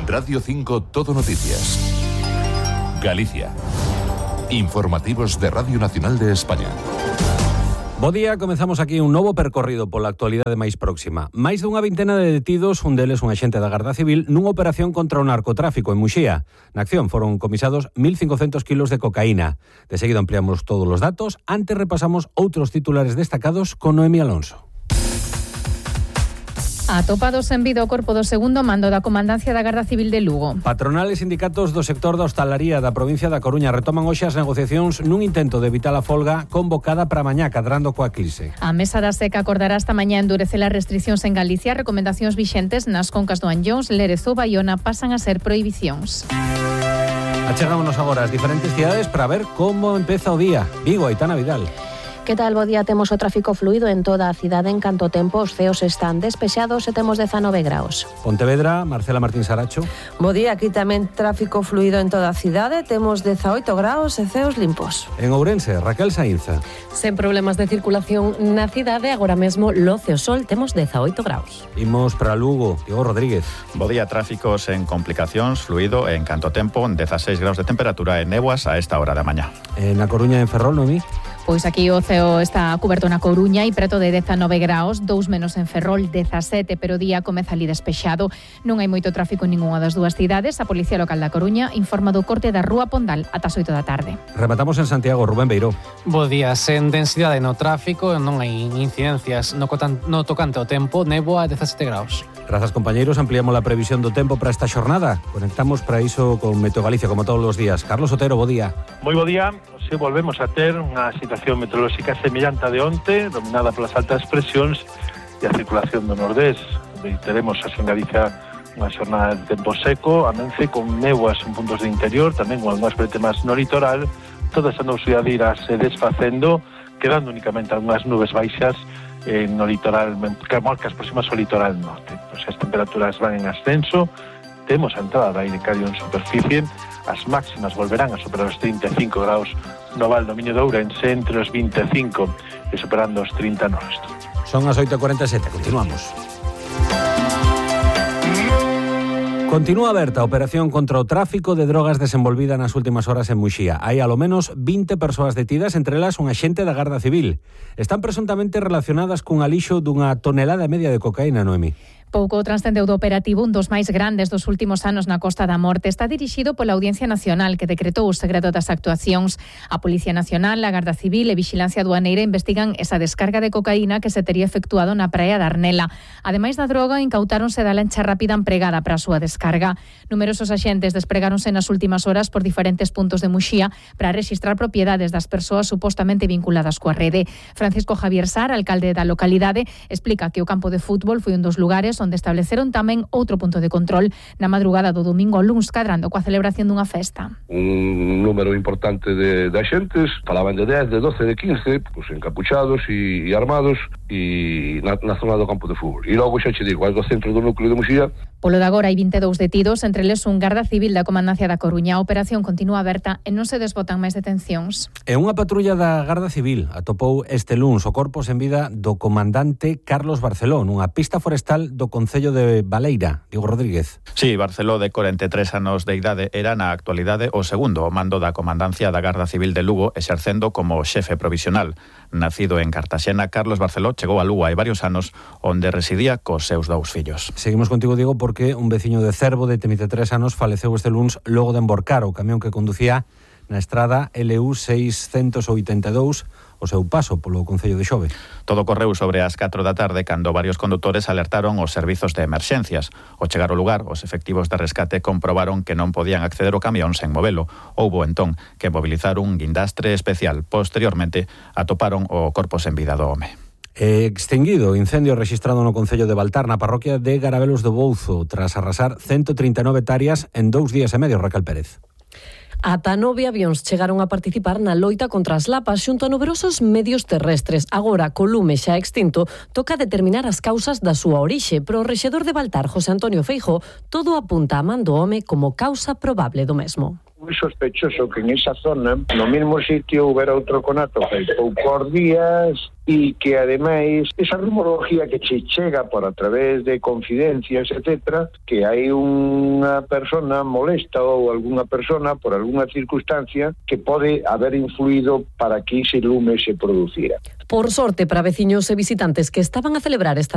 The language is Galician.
Radio 5 Todo Noticias. Galicia. Informativos de Radio Nacional de España. Bo día, comenzamos aquí un novo percorrido pola actualidade máis próxima. Máis dunha vintena de detidos, un deles un axente da Garda Civil, nunha operación contra o narcotráfico en Muxía. Na acción foron comisados 1.500 kilos de cocaína. De seguido ampliamos todos os datos. Antes repasamos outros titulares destacados con Noemi Alonso. Atopados en vida o corpo do segundo mando da Comandancia da Garda Civil de Lugo. Patronal e sindicatos do sector da hostalaría da provincia da Coruña retoman hoxe as negociacións nun intento de evitar a folga convocada para mañá, cadrando coa crise. A Mesa da Seca acordará esta mañá endurecer as restriccións en Galicia. Recomendacións vixentes nas concas do Anllóns, Lerezo, Baiona pasan a ser prohibicións. Achegámonos agora ás diferentes cidades para ver como empeza o día. Vigo, Aitana Vidal. Que tal, bo día? Temos o tráfico fluido en toda a cidade. En canto tempo, os ceos están despexados e temos 19 graus. Pontevedra, Marcela Martín Saracho. Bo día, aquí tamén tráfico fluido en toda a cidade. Temos 18 graus e ceos limpos. En Ourense, Raquel Saínza. Sen problemas de circulación na cidade, agora mesmo Loce o Sol temos 18 graus. Imos para Lugo, Diego Rodríguez. Bo día, tráficos en complicacións, fluido en canto tempo, 16 graus de temperatura e néboas a esta hora da mañá. Na Coruña, en Ferrol, Noemí. Pois aquí o ceo está cuberto na Coruña e preto de 19 graus, 2 menos en Ferrol, 17, pero o día comeza ali despexado. Non hai moito tráfico en ningunha das dúas cidades. A Policía Local da Coruña informa do corte da Rúa Pondal ata as 8 da tarde. Rematamos en Santiago, Rubén Beiró. Bo día, sen densidade no tráfico, non hai incidencias no tocante ao tempo, néboa a 17 graus. Grazas, compañeiros, ampliamos a previsión do tempo para esta xornada. Conectamos para iso con Meteo Galicia, como todos os días. Carlos Otero, bo día. Moi bo día. Se volvemos a ter unha situación meteorolóxica semellante a de onte, dominada polas altas presións e a circulación do nordés. Teremos en Galicia unha xornada de tempo seco, amense con néboas en puntos de interior, tamén con algunhas pretemas no litoral. Toda esa nubosidade irá se desfacendo, quedando únicamente algunhas nubes baixas no litoral, que marcas próximas ao litoral norte. As temperaturas van en ascenso, temos a entrada de aire cálido en superficie, as máximas volverán a superar os 35 graus no Val do Miño de Ourense, entre os 25 e superando os 30 no resto. Son as 8:47, continuamos. Continúa aberta a operación contra o tráfico de drogas desenvolvida nas últimas horas en Muxía. Hai alo menos 20 persoas detidas, entre elas un axente da Garda Civil. Están presuntamente relacionadas cun alixo dunha tonelada e media de cocaína, Noemi. Pouco transcendeu do operativo, un dos máis grandes dos últimos anos na Costa da Morte. Está dirixido pola Audiencia Nacional, que decretou o segredo das actuacións. A Policía Nacional, a Garda Civil e Vixilancia Aduaneira investigan esa descarga de cocaína que se tería efectuado na praia da Arnela. Ademais da droga, incautáronse da lancha rápida empregada para a súa descarga. Numerosos axentes despregáronse nas últimas horas por diferentes puntos de Muxía para rexistrar propiedades das persoas supostamente vinculadas coa rede. Francisco Javier Sar, alcalde da localidade, explica que o campo de fútbol foi un dos lugares onde estableceron tamén outro punto de control na madrugada do domingo ao luns, cadrando coa celebración dunha festa. Un número importante de axentes, falaban de 10, de 12, de 15, pues encapuchados e armados e na zona do campo de fútbol. E logo xa che digo, do centro do núcleo de Muxía. Polo de agora hai 22 detidos, entre eles un garda civil da Comandancia da Coruña. A operación continúa aberta e non se desbotan máis detencións. E unha patrulla da Garda Civil atopou este luns o corpo sen vida do comandante Carlos Barceló nunha pista forestal do concello de Baleira. Diego Rodríguez. Sí, Barceló, de 43 anos de idade, era na actualidade o segundo ao mando da Comandancia da Garda Civil de Lugo, exercendo como xefe provisional. Nacido en Cartaxena, Carlos Barceló chegou a Lugo hai varios anos, onde residía cos seus dous fillos. Seguimos contigo, Diego, porque un veciño de Cervo de 33 anos faleceu este luns logo de emborcar o camión que conducía na estrada LU 682 o seu paso polo concello de Xove. Todo correu sobre as 4 da tarde cando varios condutores alertaron os servizos de emerxencias. Ao chegar ao lugar, os efectivos de rescate comprobaron que non podían acceder ao camión sen movelo. Houbo entón que mobilizar un guindastre especial. Posteriormente atoparon o corpo sen vida do home. Extinguido o incendio rexistrado no concello de Baltar, na parroquia de Garabelos do Bouzo, tras arrasar 139 hectáreas en 2 días e medio. Raquel Pérez. Ata 9 avións chegaron a participar na loita contra as lapas xunto a numerosos medios terrestres. Agora, co lume xa extinto, toca determinar as causas da súa orixe, pero o rexedor de Baltar, José Antonio Feijóo, todo apunta a man do home como causa probable do mesmo. moi sospechoso que en esa zona, no mesmo sitio, houbera outro conato fai poucos días e que, ademais, esa rumorología que che chega por a través de confidencias, etcétera, que hai unha persona molesta ou algunha persona por algunha circunstancia que pode haber influído para que ese lume se producira. Por sorte para veciños e visitantes que estaban a celebrar esta